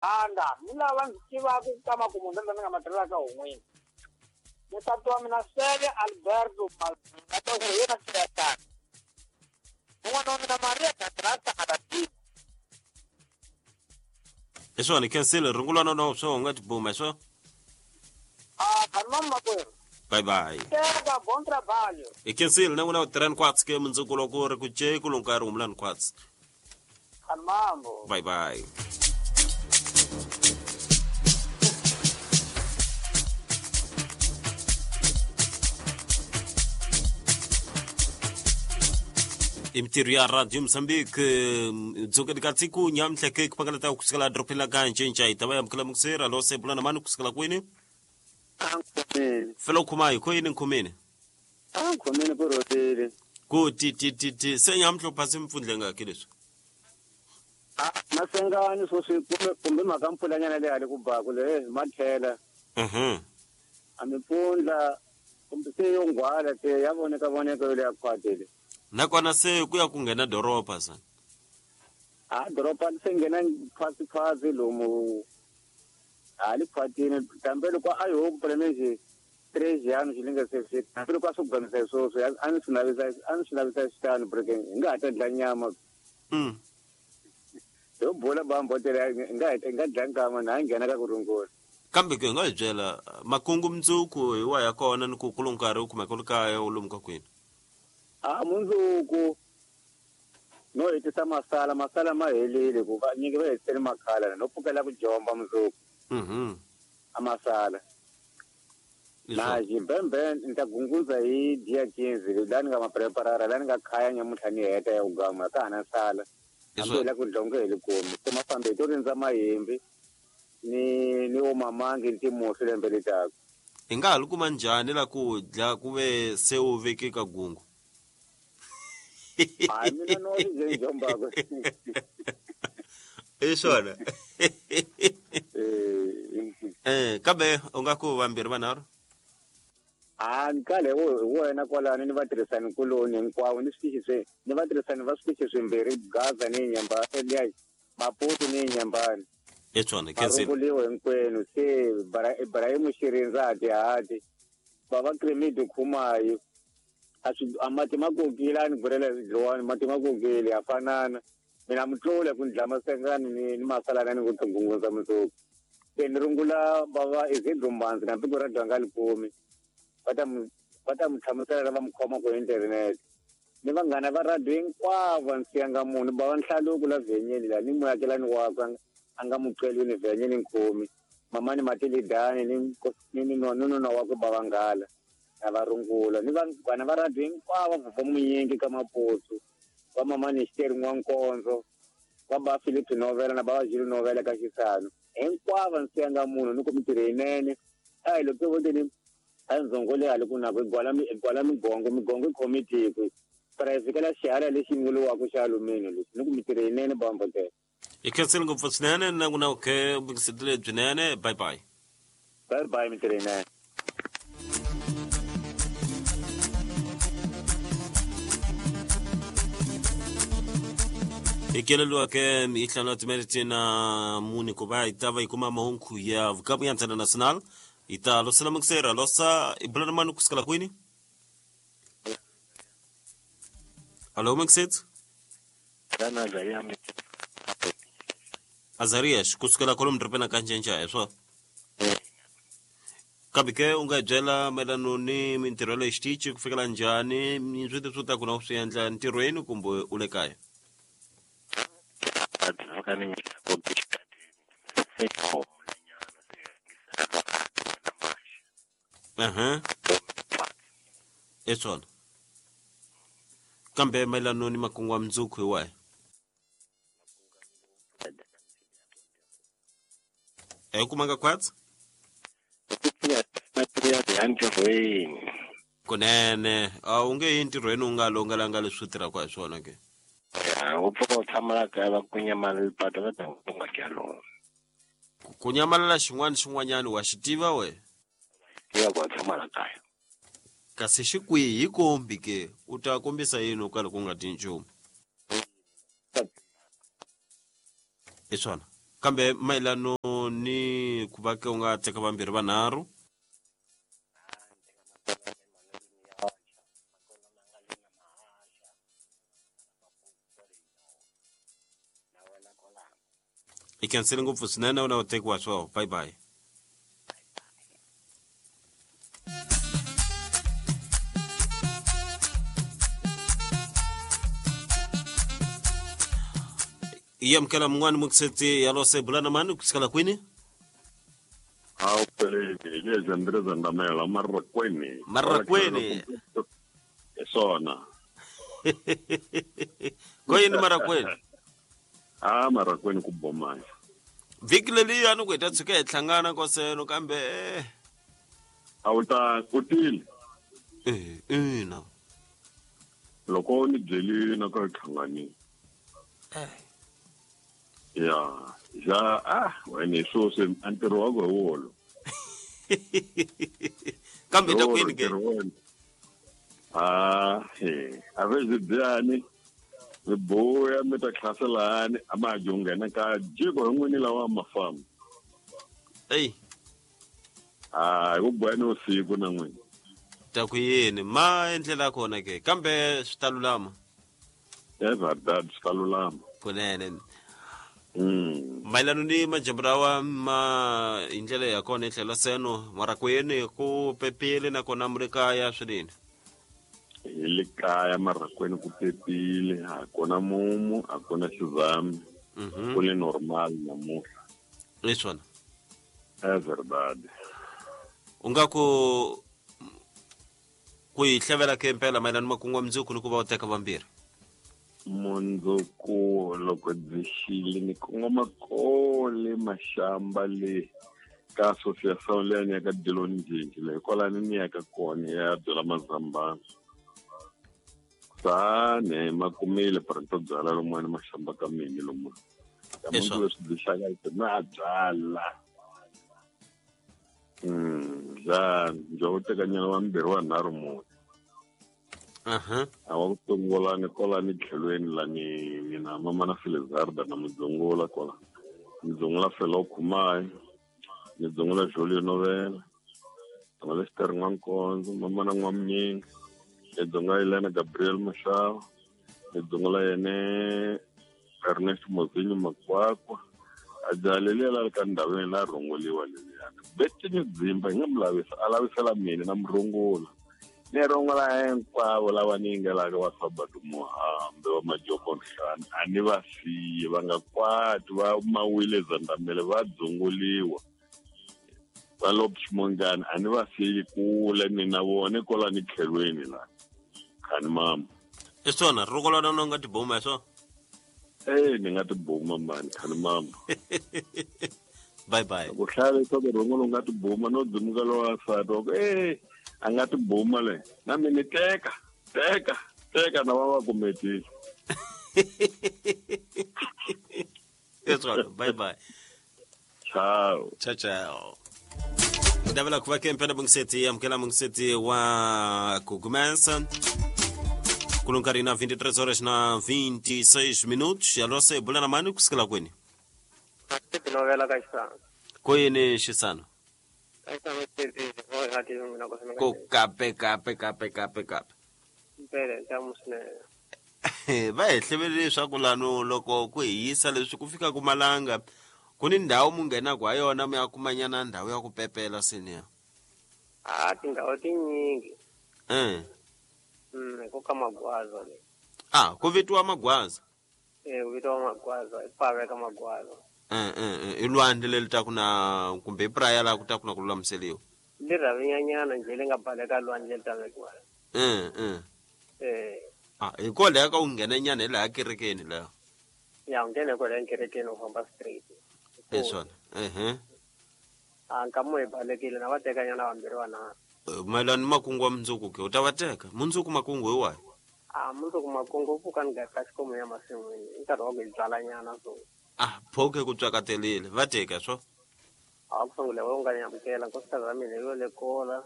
Anda ni lava ndzi tivaka ka makumu ndzi ni nga ma tirhelaka hun'wini. Nsati wa mina Sele Alberto Malatosa hi yena Tiyatani. Un'wana wa mina Maria Gadrasa Aladini. Hi swona khensile rungulwana na swo u nga tibuma hi swo. Ah, khanimani makwerhu. Bye bye. Teka, bom trabalho. Hi khensile na n'wina u tirhani khwatsi ke mundzuku loko ri ku ce ku lunga ri humulani khwatsi. Khanimambo. Bye bye. Imitirho ya Radio Mozambique dzokeni ka tsiku nyamuntlha ke ku pangalata kusukela dorobeni la ka Ncinca hi ta va yamukela mukusera lo se bulana mani kusukela kwini Ankhomeni. Fela u khoma hi khoyini nkhomeni Ankhomeni ku rhotile. Ku ti ti ti ti se nyamuntlha u phase mpfundla ngaki leswi. A masengani sweswi kumbe kumbe mhaka mpfulanyana leyi hale ku baku le ma tlhela. A mimpfundla kumbe se yo nghwala se ya voneka voneka yo leya khwati le. Nakona se ku ya ku nghena doroba sa. A doroba se nghena khwatsi khwatsi lomu hali khwatini kambe loko a yo ku pele trejiano xi linga se fika hambi loko a swi kuganisa sweswo a ni swi navisa a ni swi navisa xitano breaking hi nga ha ta dla nyama. Yo bula bambo tele hi nga hi nga dla nkama na nghena ka ku rungula. Kambe ke nga hi byela makungu mundzuku hi wa ya kona ni ku ku lomu nkarhi u kumeka u ri kaya u lomu ka kwini. A mundzuku no hetisa masala masala ma helile ku va nyingi va hetisele makhala no pfukela ku jomba mundzuku. A masala. Na xibembe ni ta gungundza hi dia 15 la ni nga ma preparara la ni nga khaya nyamuntlha ni heta ya ku gamula ka ha na sala. Hambi hi la ku dlonge hi likomi se mafambe hi to rindza mahimbi ni ni omamangi ni timusi lembe litaka. Hi nga ha li kuma njhani la ku dla ku ve se u veke ka gungu? Hayi mina no ri nje njombako. I swona. Kambe u nga ku vambirhi vanharhu? A ni kale hi wena kwalano ni vatirhisani kuloni hinkwavo ni switichi swi ni vatirhisani va switichi swimbirhi Gaza ni Nyamba liya Maputo ni Nyambani. I swona khensile. Marunguliwe hinkwenu se Ibrahim Xirindza Hatihati bava Kremidi Khumayi a swi a mati ma kokile a ni burela dlowani mati ma kokile ya fanana mina mutlule ku ni dla masengani ni ni masalana ni ku tingungundza mundzuku se ni rungula bava Izidro Mbanzi na piko ra dwanga likumi va ta mu va ta mu hlamusela va mu khoma ku internet ni vanghana va radio hinkwavo a ni siyanga munhu bava Nhlaluko la vhenyeni la ni muakelani wakwe a nga muqelwini vhenyeni nkhomi mamani Matilidani ni ni ni nuna wakwe bava Nghala na va rungula ni vanghana va radio hinkwavo va Munyingi ka Maputo va mamani Xiteri N'wankondzo va ba Philip Novela na bava Julu Novela ka Xisano hinkwavo ni siyanga munhu ni ku mintirho yinene a hi loko vo teni a ndzongo leyi hale ku nako i gwala migongo migongo i khomi tiko para fikela xihala lexi vuriwaka xa alumini lexi ni ku mintirho yinene bambo tele. Hi khensile ngopfu swinene na ku na khe vungisetele byinene bye bye. Bye bye mintirho yinene. Hi keleliwa ke hi hlanu timinete na mune ku va hi ta va hi kuma mahungu ya vukamu ya Ntsena National hi ta losela mungisera losa i bulana mani kusukela kwini? Hallo mungisetsi. Azarias kusukela kwalomu dorobeni ka Ncinca hi swona? Kambe ke u nga hi byela mayelano ni mintirho ya le xitichi ku fikela njhani ni swi leswi u taka na u swi endla ntirhweni kumbe u le kaya? Aha. I swona. Kambe mayelano ni makungu ya mundzuku hi wahi? A yi kumanga khwatsi? Entirhweni. Kunene, a wu nge yi entirhweni u nga longelanga leswi u tirhaka hi swona ke? Ya, u pfuka u tshama la kaya va ku nyamalala patu va ta ku nga kya lona. Ku nyamalala xin'wana xin'wanyana wa xi tiva we? Tiva ku wa tshama la kaya. Kasi xi kwihi hi kombi ke? U ta kombisa yini u karhi ku nga dyi nchumu? I swona. Kambe mayelano ni ku va ke u nga teka vambirhi vanharhu. I khensile ngopfu swinene u na u tekiwa swo. Bye bye. Yamukela mun'wani mukiseti ya lose bulana mani kusikala kwini? Awu peleni lezi Andreza Ndamela Marrakweni. Marrakweni. Sona. Koyini Marrakweni? Ah, Marrakweni ku bomaya. Vhiki leliya ni ku hi ta tshuka hi hlangana koseno kambe A wu ta kutile. Ina. Loko ni byelile na ka hlanganile. Ya, ja wena sweswi a ntirho wa ku hi wolo. Kambe ta kwini ke? Ah, he, a ve byi byani. Mi buya mi ta hlaselani a ma ha nghena ka jiko hi n'wini lawa ma famba. Ey. Ah, hi ku buya ni usiku na n'wini. Ta ku yini ma endlela kona ke kambe swi ta lulama. É verdade, swi ta lulama. Kunene. Mayelano ni majambu lawa ma hi ndlela ya kona hi tlhelo seno Marrakweni ku pepile nakona mu ri kaya swinene. Hi le kaya Marrakweni ku pepile, a ku na mumu, a ku na xizami. Ku le normal namuntlha. Hi swona. É verdade. U nga ku hi hlevela ke mpela mayelano makungu ya mundzuku ni ku va u teka vambirhi. Mundzuku loko byi xile ni kongoma kole maxamba le ka association leyi ni ya ka Diloni Njinji leyi kwalani ni ya ka kona ya byela mazambana. Sane makumile printo byala lomuwani maxamba ka mini lomu. Ka mundzuku leswi byi xaka na byala. Ja njo u teka nyana wa mbirhi wa nharhu mune. A wa ku sungula ni kola ni tlhelweni la ni na mama na Felizarda na mudzungula kola. Mudzungula Felo Khumai, ni dzungula Julio Novela, dzungula Xikarhi N'wankonzo, mama na N'wamnyingi, ni dzungula Elena Gabriel Mashava, ni dzungula yene Ernest Mozinyo Makwakwa. A jaha leliya la ri ka ndhawini la rhongoliwa leliyani. Betini Dzimba hi nga mu lavisa, a lavisela mina na murhongula. Ni rhongola hinkwavo lava ni yingelaka va Sabado Muhambe wa Majoko Nhlana a ni va siyi va nga kwati va mawile Zandamele va dzunguliwa va Lopshimongani a ni va siyi kule ni na vona kwala ni tlhelweni la khani mama. I swona rhongola na nga tibuma hi swona? Ni nga tibuma mani khani mama. Bye bye. Ku hlaya leswaku rhongola u nga tibuma no dzimuka lowa nsati wa ku a nga tibuma le na mina teka teka teka na va va kumetile. Eswona bye bye. Ciao. Ciao ciao. Ndavela ku va ke mpela mungiseti amukela mungiseti wa kugumesa. Kulunkarhi na 23 horas na 26 minutos. Alose bulana mani kusikela kwini? Tinovela ka xisana. Koyini xisana? Ko kape kape kape kape kape. Mpela ntamu swinene. Va hi hlevele leswaku lano loko ku hi yisa leswi ku fika ku malanga ku ni ndhawu mu nghenaku ha yona mi ya kumanyana ndhawu ya ku pepela senior. Ah, tindhawu tinyingi. Ku ka Magwaza le. Ah, ku vitiwa Magwaza. Ku vitiwa Magwaza, i pave ka Magwaza. I lwandle leri ta ku na kumbe i praya laha ku ta ku na ku lulamiseliwa. Li rhavinyanyana njhe li nga baleka lwandle li ta vekiwa. Ah, hi kwalaho ka u nghena nyana hi laha kerekeni laha. Ya, u nghene kwalaho kerekeni u famba straight. Hi swona. Ah, nkamu hi balekile na va teka nyana vambirhi vanharhu. Mayelana ni makungu wa mundzuku ke u ta va teka mundzuku makungu hi wahi? Ah, mundzuku makungu u pfuka ni gaka xikomu ya masin'wini i nkarhi wa ku hi byala nyana so. Ah, phoke ku tswakatelile va teka swo. A ku sungula u nga nyamukela nkosikazi wa mina yo le kola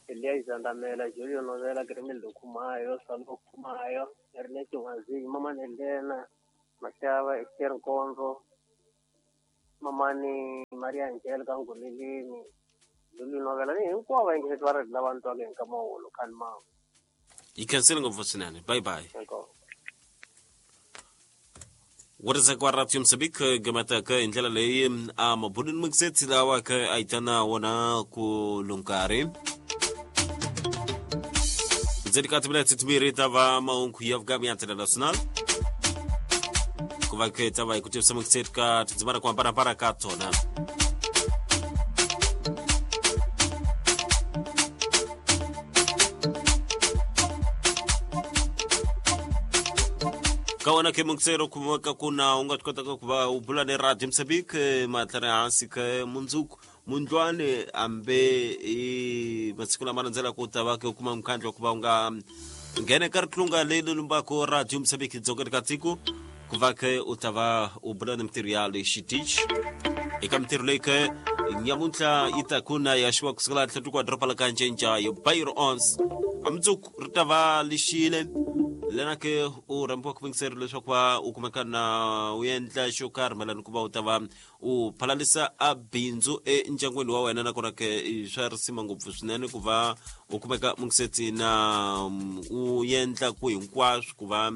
Eliya Zandamela, Julio Novela, Grimildo Khumayo, Salo Khumayo, Ernest Nwazinyi, Mama Nelena, Mashava, Esther Nkonzo, Mamani Maria Angelica Ngulilini Lulu Novela ni hinkwavo vayingiseti va ri lava ni twaka hi nkama wolo khani mangu. Yi khensile ngopfu swinene. Bye bye. Inkomu. Wuriseka wa Radio Mozambique gamataka hi ndlela leyi a mabulini mukiseti lawa ka a yi tana wona ku lunkarhi ndzeni ka timinete timbirhi ta va mahungu ya vukami ya Ntela National ku va ke ta va hi ku tivisa mukiseti ka tindzimana ku hambanahambana ka tona. Ka wena ke mukisero kumeka ku na u nga swi kotaka ku va u bula ni Radio Mozambique matlhari hansi ke mundzuku mundlwane ambe i masiku lama landzelaka u ta va ke u kuma mukhandlu wa ku va u nga nghena eka ritlunga leri lumbaka Radio Mozambique dzongeni ka tiko ku va ke u ta va u bula ni mintirho ya le xitichi eka mintirho leyi ke nyamuntlha yi ta ku na ya xiwa kusukela tlhelo wa doroba la ka Ncenca yo Bayiro Ons a mundzuku ri ta va lixile lena ke u rhambiwa ku yingiseri leswaku va u kumeka na u endla xo karhi mayelana ku va u ta va u phalalisa a bindzu endyangwini wa wena nakona ke i swa risima ngopfu swinene ku va u kumeka mungisetsi na u endla ku hinkwaswo ku va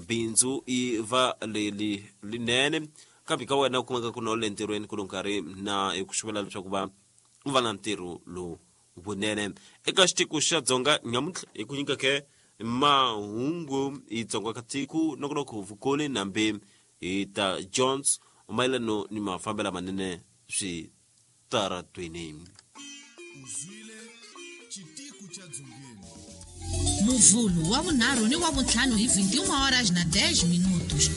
bindzu i va leli linene kambe ka wena u kumeka ku na u le ntirhweni ku lo nkarhi na hi ku xuvela leswaku va u va na ntirho lowu vunene eka xitiko xa Dzonga nyamuntlha hi ku nyika ke mahungu hi Dzonga ka tiko nongonoko vukoni nambe hi ta Jones mayelano ni mafambelo manene switaratweni. Uzwile xitiku xa Dzongeni. Muvhulu wa vunharhu ni wa vuntlhanu hi 21 horas na 10 minutos.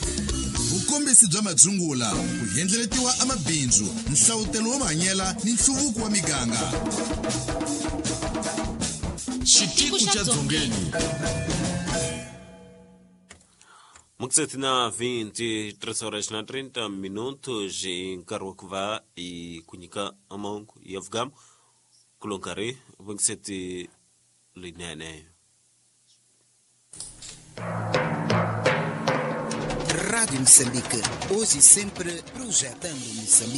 Vukombisi bya madzungula ku endleletiwa amabindzu nhlavutelo wa mahanyela ni nhluvuko wa miganga. Xitiku xa Dzongeni. Mukiseti na 23 horas na 30 minutos hi nkarhi wa ku va hi ku nyika mahungu ya vugamu ku lo nkarhi vungiseti linene. Rádio Moçambique, hoje e sempre projetando Moçambique.